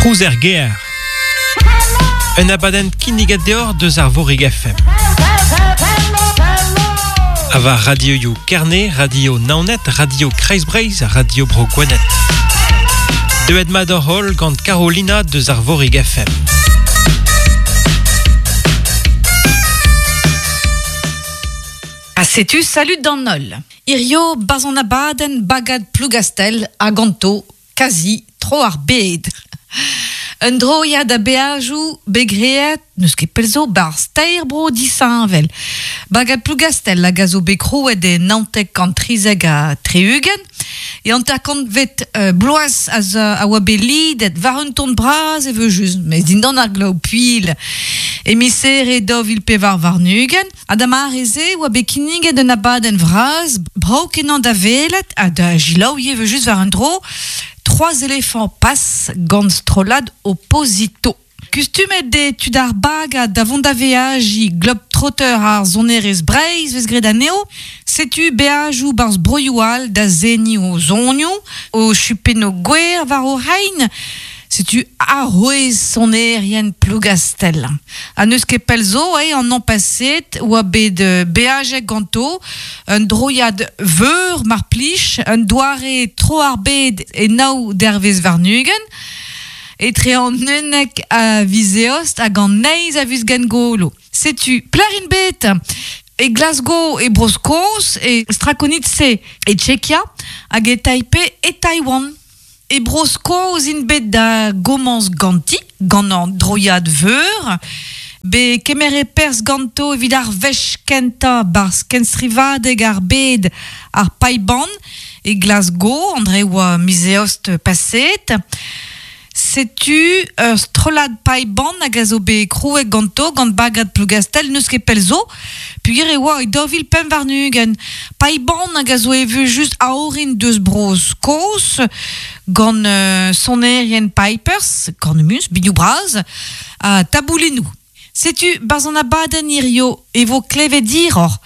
Trouz er gêr. Un abadenn kinniget deoc'h deus Arvorig FM. Ha war radioioù Kerne, Radio Naoned, Radio Kreiz-Breizh, Radio Bro Gwened. Deuet mat hoc'h holl gant Carolina deus Arvorig FM. Ha setu salud d'an holl. Hirio 'barzh an abadenn Bagad Plougastell ha ganto kazi tro ar bed. Un droiad a beajoù bet graet n'eus ket pell zo 'barzh teir bro disheñvel. Bagad Plougastell hag a zo bet krouet e 1973 e hanter-kantvet bloaz a oa bet lidet war un ton bras evel-just, mes dindan ar glav puilh. E miz Here 2024 ha da mare-se e oa bet kinniget un abadenn vras brav-kenañ da welet ha da selaou evel-just war un dro, Trois éléphants passent gant strollad Oposito. Kustumet eo tud ar bagad da vont da veajiñ globetrotter ar sonerezh Breizh 'vez graet anezho. Setu beajoù 'barzh broioù all da seniñ o zonioù, o chupennoù gwer war o c'hein. Setu arouez sonerien Plougastell. Ha n'eus ket pell zo eo an hañv paseet 'oa bet beajet ganto un droiad veur mar plij, un doare tro ar bed e nav dervezh warn-ugent. Etre an unnek a viz Eost hag an eizh a viz Gengolo. Setu pelec'h int bet? E Glasgow e Bro-Skos, e Strakonice e Tchekia hag e Taipei e Taiwan. E Bro-Skos int bet da gomañs ganti, gant an droiad veur. Bet kemeret perzh ganto evit ar wech kentañ 'barzh kenstrivadeg ar bed ar Paiban e Glasgow, André oa miz Eost paseet. Setu ur strollad paiban hag a zo bet krouet ganto gant bagad Plougastell n'eus ket pell zo, peogwir e oa e 2025. Paiban hag a zo evel-just a-orin deus Bro-Skos gant sonerien pipers, kornemuz, binioù bras, ha taboulinoù. Setu 'barzh an abadenn hirio e vo klevet hiroc'h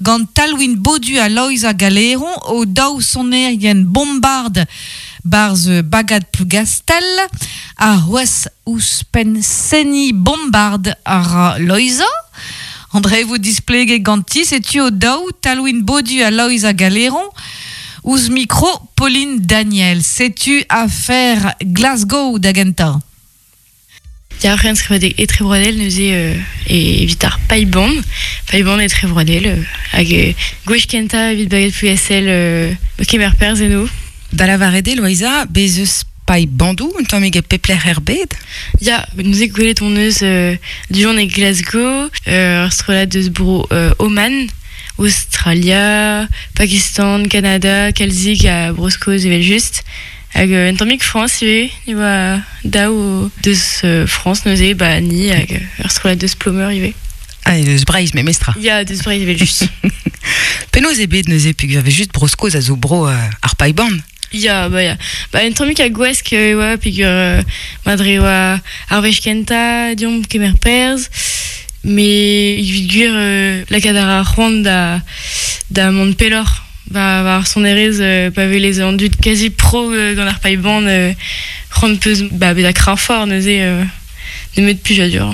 gant Talwin Bodu ha Loeiza Galeron, o daou sonerien bombard 'barzh Bagad Plougastell. Ha c'hoazh ouzhpenn seniñ bombard a ra Loeiza. André vo displeget ganti, setu o daou, Talwin Bodu ha Loeiza Galeron, ouzh mikro Pauline Daniel. Setu afer Glasgow da gentañ. Ya, ur c'henstrivadeg etrebroadel neuze evit ar paibon, paibon etrebroadel, hag gwech kentañ evit Bagad Plougastel kemer perzh eno. Da lavaret eo, Loeiza, bez' eus paebandoù un tammig e pep lec'h er bed? Ya, neuze gwelet hon eus du-hont e Glasgow, ur strollad eus bro Oman, Aostralia, Pakistan, Kanada, kalzik ha Bro-Skos evel-just. Hag un tammig Frañs ivez, e oa daou deus Frañs neuze, ba ni hag ur strollad deus Plomeur ivez. Ah, et deus Breizh memestra. Ya, deus Breizh evel-just. Penaos eo bet neuze peogwir vez just Bro-Skos a zo bro ar paeban? Ya, ba ya. Ba un tammig a gwask e oa peogwir ma dre oa ar wech kentañ deomp kemer perzh, met evit gwir lakaat a ra c'hoant da da mont pelloc'h. War ar sonerezh pa welez an dud kazi pro gant ar paeban c'hoant 'peus ba bezañ kreñfoc'h neuze nemet plijadur.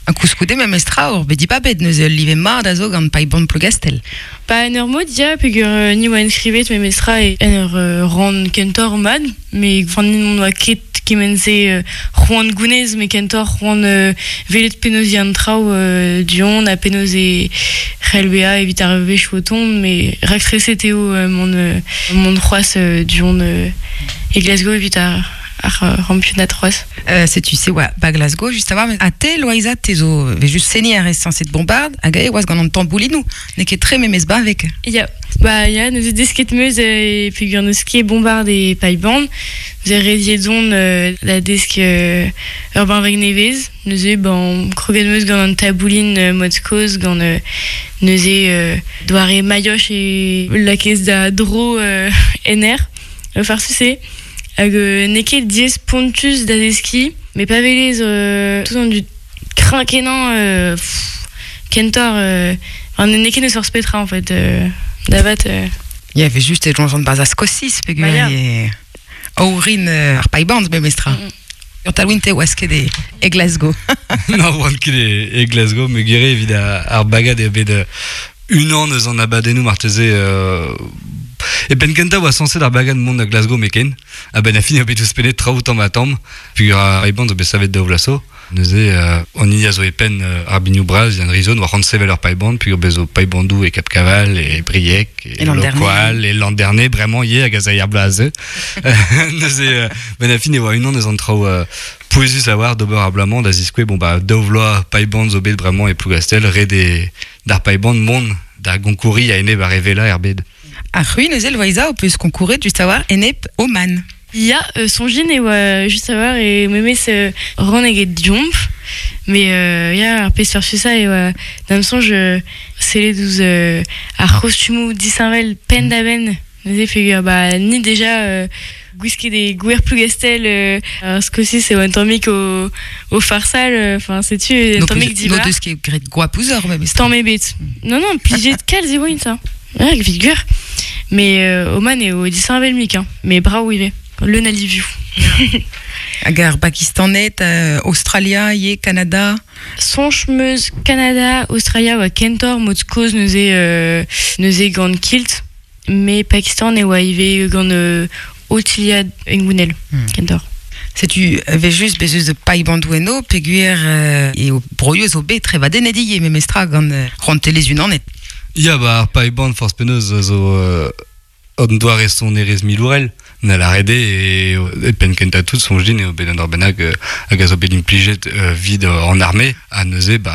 Ha koulskoude memestra oc'h bet dibabet neuze ul live mat a zo gant paeban Plougastell. Ba en ur mod ya peogwir ni oa enskrivet memestra en ur rann kentoc'h mat met enfin ni n'on oa ket kement-se c'hoant gounez met kentoc'h c'hoant welet penaos eo an traoù du-hont ha penaos e c'hell bezañ evit ar wech o tont met raktreset eo mont mont c'hoazh du-hont e Glasgow evit ar ar c'hampionad c'hoazh. Setu se oa ba Glasgow just a-walc'h. Ha te, Loeiza, te zo 'vez just seniñ a rez sañset bombard hag aet oas gant an tamboulinoù. N'eo ket tre memes bavek. Ya, ba ya, neuze desket 'meus peogwir n'eus ket bombard e Paiban. Neuze rediet on da desk ur benveg nevez. Neuze ben kroget 'meus gant an taboulin mod kozh gant neuze doare mailhoch e lakaez da dro en aer. Farsus eo. Hag n'eo ket diaes spontus da deskiñ, met pa welez tout an dud kreñv-kenañ kentoc'h n'eo ket n'eus forzh petra en fait da vat. Ya, evel just e soñjan barzh ar Skosiz peogwir eo orin ar paiband memestra. Ur talwin te oas ket e, e Glasgow. Non, oan ket e, e Glasgow, me gere evit ar bagad eo bet unan eus an abadennoù marteze e penn kentañ oa sañset ar bagad mont da Glasgow meken, a-benn ar fin eo bet ouzhpennet traoù tamm ha tamm, peogwir ar Ray-Ban zo bet savet daou vloaz zo. Neuze, an hini a zo e penn ar binioù bras, Yann Rizon, oa c'hoant sevel ur paiband, peogwir bez zo paibandoù e Cap Caval, e Briec, e E Landerne. Lokoal, e Landerne, bremañ ivez hag a zay ar bloaz a zeu. Neuze, benn ar fin e oa unan eus an traoù pouezus a-walc'h d'ober ar bloaz-mañ da ziskouez, bon bah daou vloaz paiband zo bet bremañ e Plougastel, ret eo d'ar paiband mont da gonkouriñ a-enep ar re wellañ er bed. Ar c'hwi neuze, Loeiza, ho peus konkouret just a-walc'h enep Oman. Ya, soñjin e oa just a-walc'h e memes ran eget deomp. Mais ya, ar pezh farsusañ e oa da'm soñj sellet ouzh ar c'hostumoù disheñvel penn-da-benn. Neuze peogwir ba ni deja gwisket e gwer Plougastel ar Skosiz e oa un tammig o, o farsal. Enfin, setu un tammig dibar. N'o deus ket graet goap ouzhoc'h memes. Tamm ebet. Non, non, plijet kalz e oint, hein. Ouais, evit gwir. Mais Oman eo disheñvel-mik, hein. Mais brav ivez. Leun a livioù. Hag ar Bakistaned, Australia ivez, Kanada. Soñj 'm eus Kanada, Australia oa kentoc'h mod kozh neuze, neuze gant kilt. Mais Pakistan e oa ivez gant Otiliad hengounel, kentoc'h. Setu evel-just bez eus paibandou eno peogwir eo broioù zo bet trevadennet ivez memestra gant rouantelezh Unanet. Ya, ba ar paiband forzh penaos zo an doare sonerezh milourel. Na lâret eo e penn kentañ tout soñj din eo bet un dra bennak hag a zo bet implijet evit an arme ha neuze ba